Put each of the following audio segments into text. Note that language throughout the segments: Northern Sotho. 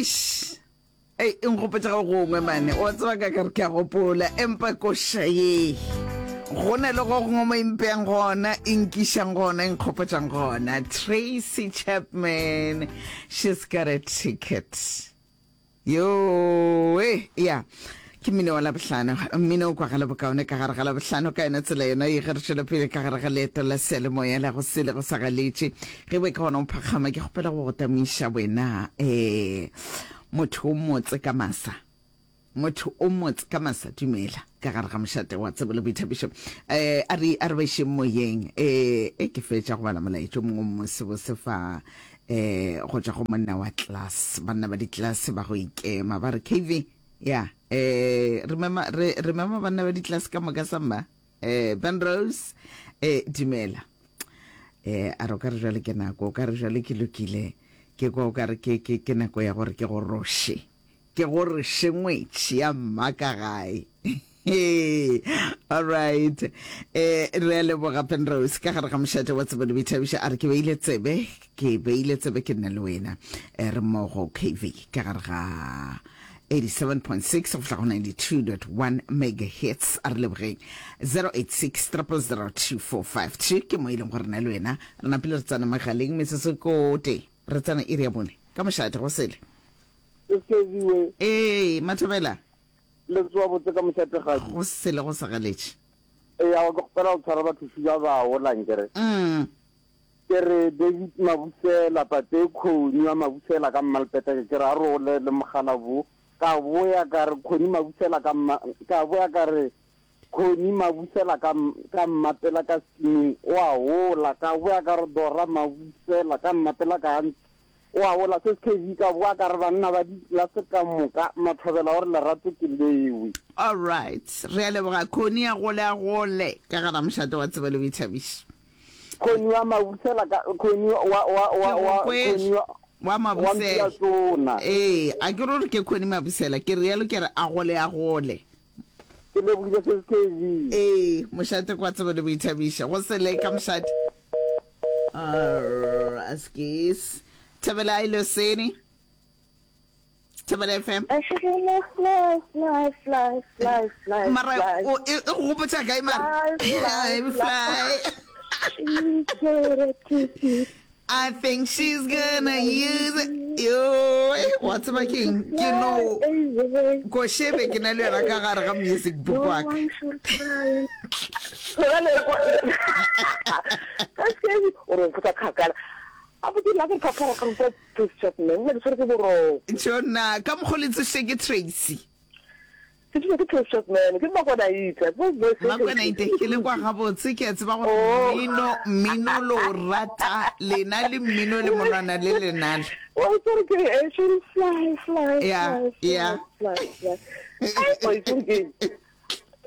Eish. Ei, e nkgopotša go gongwe mane. Wa tseba ka ka re ke a gopola, empa koša ye. Go na le go gongwe mo e mpeang gona, e nkišang gona, e nkgopotšang gona. Tracy Chapman, she's got a ticket. Yoe, ya. Ke mmino wa Labohlano. Mmino o kwagala bokaone ka gare ga Labohlano. Ka yona tsela yona ye ge re tšwela pele ka gare ga leeto la seyalemoya la go sele go sa galetše. Ge bo e ka gona o phakgama, ke kgopela go go tamiša wena, eh, motho o motse ka masa. Motho o motse ka masa, dumela, ka gare ga mošate wa tsebo le boithabišo. Eh, a re, a re ba išeng moyeng. Eh, e ke fetša go bala molaetša o mongwe o mosebose fa, eh, go tšwa go monna wa class, banna ba di-class ba go ikema, ba re, KV, Ya, eh, re mema, re, re mema banna ba ditlase ka moka sa mma. Eh, Ben Rose, eh, dumela. Eh, a re o ka re jwale ke nako, o ka re jwale ke lokile. Ke kwa o ka re ke, ke, ke nako ya gore ke go roše. Ke go roše ngwetši ya mma ka gae. All right. Eh, re a leboga Ben Rose ka gare ga mošate wa tsebo le boithabišo. A re ke beile tsebe, ke beile tsebe ke nna le wena. Eh, re mmogo KV ka gare ga 87.6 go fihla go 92.1 megahertz. A re lebogeng 086 000 2452 ke mo e leng gore nna le wena re napile re tsena megaleng metsotso kote re tsena iri ya bone ka mošate go sele. Ee, Mathobela. Le tsoa botse ka mošategadi. Go sele go segeletše. Eya, ke kgopela go tshwara bathuši ba bao lankere. Mm. Ke re David Mabusela, tate Khoni wa Mabusela ka Mmalpeteke, ke re a role le mogala bo. Ka boya ka re Khoni Mabusela ka mma, ka boya ka re Khoni Mabusela ka ka Mmapela ka skimming o a hola. Ka boya ka re Dora Mabusela ka Mmapela ka O a ola se SKV ka boa ka re banna ba ditlelase ka moka mathobela gore lerato ke lewe. Alright, re a leboga Connie a gole a gole ka gara mošate wa tsebo le boithabišo. Connie wa Mabusela ka Connie wa wa wa Ke go wa kwele. Connie wa Wa wa Mabusela. Mpiatsona. Ee, a ke rore ke Connie Mabusela, ke realo ke re a gole a gole. Ke lebogile se SKV. Ee, mošate kwa tsebo le boithabišo. Go sele ka mošate. Askies. Thobela Iloseni. Thobela FM. Fly, fly, fly, fly, fly, Mara fly. o e e go gopotša kae mara? Fly, fly, Fly. She's got a ticket. I think she's gonna use it. Yo, wa tseba keng? Ke no košebe ke na le yona ka gare ga music book wa ka. Tšona, ka mokgo le tsošitše ke Tracy. Ke tšwe ke Precious Man, ke Makwana-ite. Makwana-ite, ke le kwa gabotse, ke a tseba gore Oh. mmino, mmino lo o rata, lena le mmino le monwana le lenale. Wa itse gore ke eh, she fly, fly, Yeah, fly, yeah. fly, fly, fly. Ai, wa itse gore ke eng?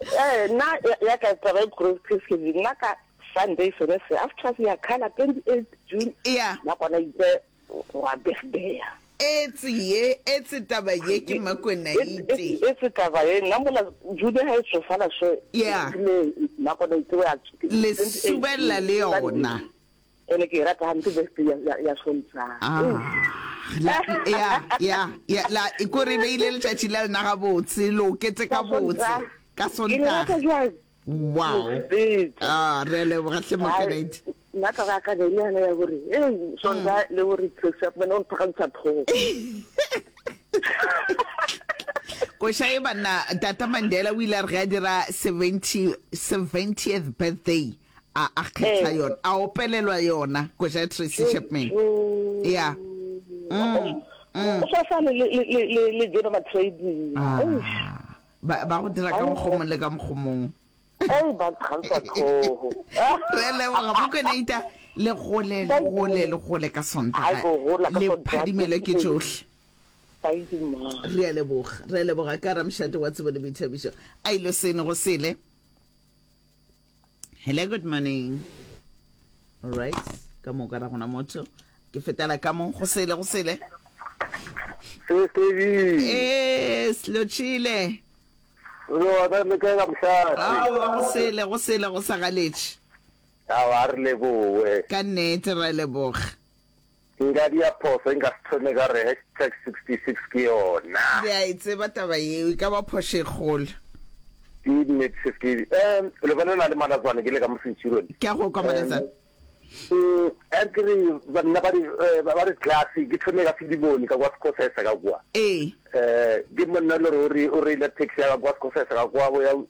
Eh, nna ya- ya ka taba e kgolo ke nna ka Sunday sone se after ya khala 28 June Yeah. Makwana-ite Wa birthday-a. Etse ye, etse taba ye ke Makwena-ite. Etse taba ye, nna mola June ha e tsofala so. Yeah. Makwena-ite wa. Le subella le yona. Ene ke e rata hampe birthday ya ya ya Sontaga. Ah, la, ya, ya, ya, la, ko re beile letšatši la lena gabotse, lo keteka botse, ka Ke le rata Sontaga. jwang? Wow. Ah, re a leboga hle Mokanedi. Nna taba ya ka ne le yona ya gore ei Sonta le gore Tracy Chapman o mphakamisa tlhogo. Koša e banna Tata Mandela o ile a re ge a dira 70 70th birthday a a kgetha Eh. yona a opelelwa yona koša ya Tracy Chapman. Yeah. Mm. Mm. O swa le le le le le Jono Matrade. Ah. Ba, ba go dira ka mokgomong le ka mokgomong. Ei, ba nkgantsha tlhogo. Re a leboga Mokonaita, le gole, le gole, le gole ka Sontaga. Ai, go gola ka Le Sontaga. phadimelwe ke tšohle. Thank you, ma. Re a leboga, re a leboga ka Ramšate wa tsebo le boithabišo. A ilo sene go sele. Hello, good morning. All right, ka moka ra gona motho. Ke fetela ka mo go sele go sele. Sesedi. Eh, slotshile. Lo ba le kae ka mošate? Aowa, go sele go sele go sa galetše. Aowa, a re leboge. Ka nnete ra leboga. Ke. Nka dia phoso e nka se thome ka re hashtag 66 ke yona. Le a e tseba taba yeo, e ka ba phošo e kgolo. Ke nnete sis ke um le bolela le Malatswane ke le ka mo Centurion. Ke a go kwa Malatswane. Um a ke re banna ba di ba di class ke thome ka Filimone ka kwa Sekgosesa ka kwa. Ee. Um ke monna le gore o re o reile taxi ya ka kwa Sekgosesa ka kwa bo ya o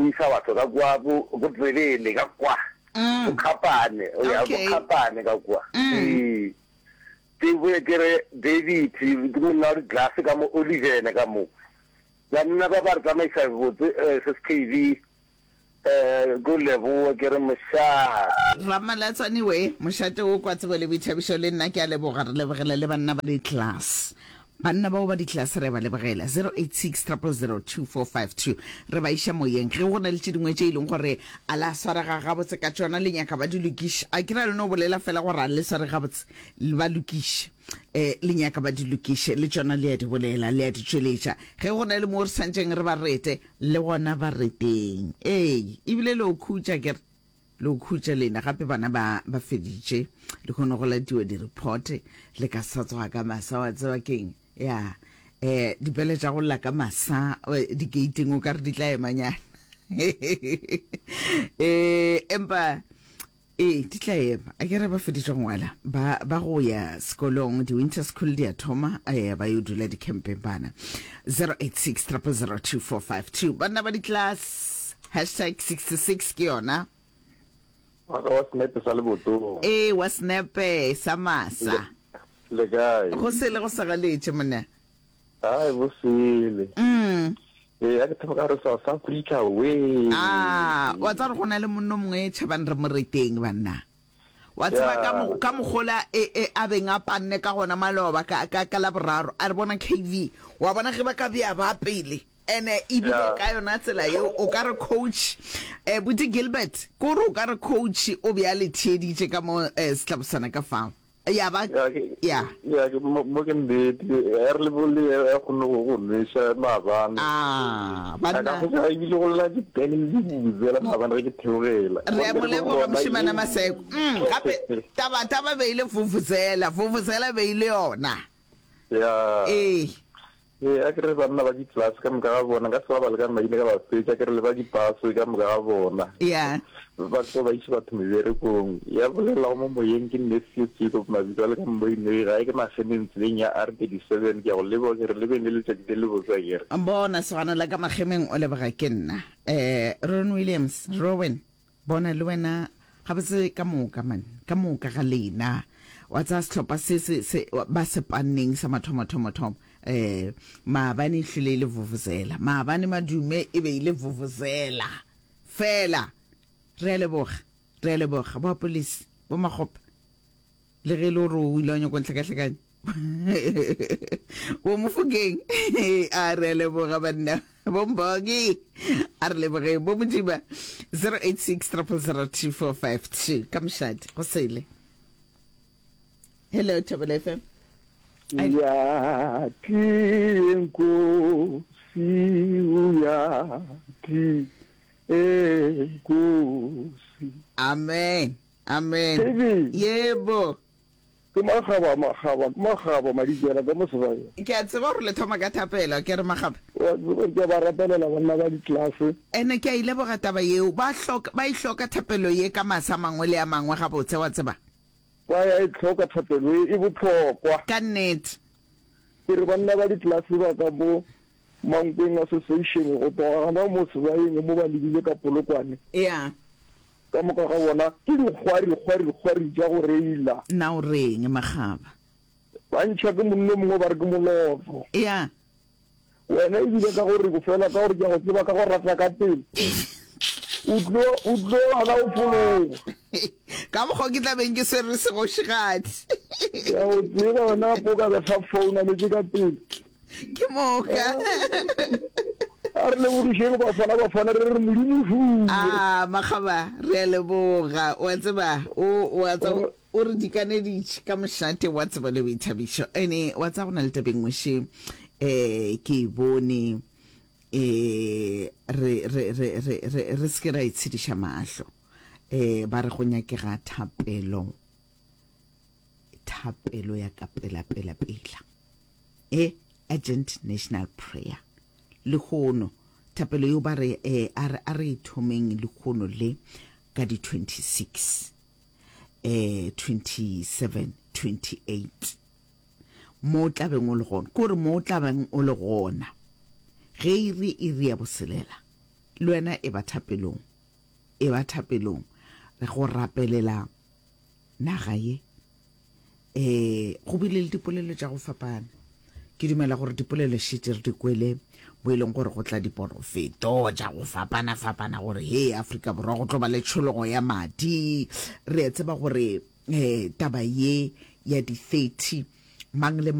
isa batho ka kwa bo bo Tsebele ka kwa. Bo Kgapane o ya bo Kgapane ka kwa. Ee. Ke boye ke re David ke monna wa di glass ka mo Olivene ka mo. Banna ba ba re tsamaisa botse sis KB ko leboa ke re mošate. Ramalatswane we, mošate wo kwa tsebo le boithabišo le nna ke a leboga, re lebogela le banna ba di-class. Banna bao ba di-class re a ba lebogela. 086 000 2452 re ba iša moyeng. Ge go na le tše dingwe tše e leng gore a la swarega gabotse ka tšona le nyaka ba di lokiše, a ke ra le no bolela fela gore a le sware gabotse, ba lokiše. E, le nyaka ba di lokiše, le tšona le a di bolela, le a di tšweletša. Ge go na le moo re swantšeng re ba rete, le gona ba reteng. Ee, ebile le o khutša, ke re, le o khutša lena. Gape bana ba, ba feditše, le kgone go latiwa di-report, le ka sa tsoga ka masa, wa tseba keng? Ya, eh, dipele tša go lla ka masa, di-gate-ing o ka re di tla emanyana. Eh, empa Ee, di tla ema. A ke re ba feditše go ngwala, ba, ba go ya sekolong, di-winter school di a thoma, eh, ba yo dula dikhempeng bana. 086 000 2452. Banna ba di-class, hashtag 66 ke yona. Wa ka wa senepe sa lebotong. Ee, wa senepe sa masa. Le kae? Go sele go sagaletše, monna. Ai, bo sele. Ee, a ke thoma ka re South Africa we. Ah, wa tseba gore go na le monno mongwe tšhabang re mo reteng banna. Wa tseba ka mo, ka mogola e, e a beng a panne ka gona maloba ka, ka, ka Laboraro, a re bona KV, wa bona ge ba ka bea ba pele. Ene ebile ka yona tsela yeo o ka re coach, eh, Buti Gilbert, ke gore o ka re coach o be a le theeditše ka mo eh, setlabosana ka fao. Ya ba, Ya ke, ya. ya ke, mo, mo ke nnete. Ya re le bole ya kgonne go go nweša maabane. Ah, A ka banna. kgotsa ebile go lla dipene le dibuzela maabane ge ke theogela. Re a mo Gomme re leboga gona mošemane ye. Maseko. Mm, gape taba taba be ile vuvuzela, vuvuzela be ile yona. Ya. Ee. Ee, a ke re banna ba di-class ka moka ga bona, nka se ba bale ka maina ka ba fetša, ke re le ba di-bus ka moka ga bona. Ya. Ba tlo ba iše batho meberekong. Ya bolelago mo moyeng ke Nephew Jacob Mabitso a le ka Mmoinoi, gae ke Magemeng tseleng ya R37. Ke a go leboga, ke re le beng le letšatši le lebotse akere. Bona, sogana la ka Magemeng o leboga ke nna. Eh, Ron Williams, Rowan. Bona le wena gabotse ka moka man, ka moka ga lena. Wa tsaya sehlopha se se se ba se panneng sa mathomo thomo thomo. Eh maabane e hlile e le vuvuzela. Maabane madume e be e le vuvuzela. Fela re a leboga, re a leboga bo Apolisi, bo Makgopa. Le ge e le gore o ile wa nyako ntlhakahlakanya. Bo Mofokeng, a re a leboga banna. Bo Mboki, a re lebogeng. Bo Modiba, 086 000 2452. Ka mošate, go sele. Hello, Thobela FM. Uyathi enkosi uyathi enkosi. Amen. Amen. Baby. Yebo. Ke makgaba, makgaba, ke makgaba, madikela ka mo sebakeng. Ke a tseba gore le thoma ka thapelo, ke re makgaba. Wa tseba ke a ba rapelela banna ba ditlelase. Ene ke a e leboga taba yeo. Ba hloka, ba e hloka thapelo ye ka masa a mangwe le a mangwe gabotse, wa tseba. Ba ya e hloka thapelo ye, e bohlokwa. Ka nnete. Ke re banna ba ditlelase ba ka mo Mankweng Association go tloga gona mo sebayeng mo ba lebile ka Polokwane. Ya. Ka moka ga bona ke dikgwari, kgwari, kgwari tša go reila. Na o reng, Makgaba? Ba ntšha ke monno mongwe ba re ke Moloto. Ya. Wena e bile ka gore fela ka gore ke a go tseba ka go rata ka pele. O tlo, o tlo gana go fologa. Ka mokgwa ke tla beng ke swere segošigadi. Ke a go tseba wena gape o ka be sa founa letse ka pele. Ke moka. A re lebogišeng Bafana Bafana re re Modimo šuwe. A Makgaba re a leboga wa tseba o wa tseba o re dikaneditše ka mošate wa tsebo le boithabišo ene wa tseba go na le taba e nngwe še eh ke e bone eh re re re re re re se ke ra itshediša mahlo eh ba re go nyakega thapelo. Thapelo ya ka pela pela pela. E urgent national prayer. Lehono thapelo yeo ba re eh, a re a re e thomeng lehono le ka di 26 eh 27 28 mo o tla beng o le gona ke gore mo o tla beng o le gona ge e re iri ya boselela le wena e ba thapelong e ba thapelong re go rapelela naga ye um go bile le dipolelo tša go fapana ke dumela gore dipolelo šetše re di kwele bo e leng gore go tla diporofeto tša go fapana-fapana gore he Afrika Borwa go tlo ba le tšhologo ya madi re a tseba gore um taba ye ya di-30 mang le.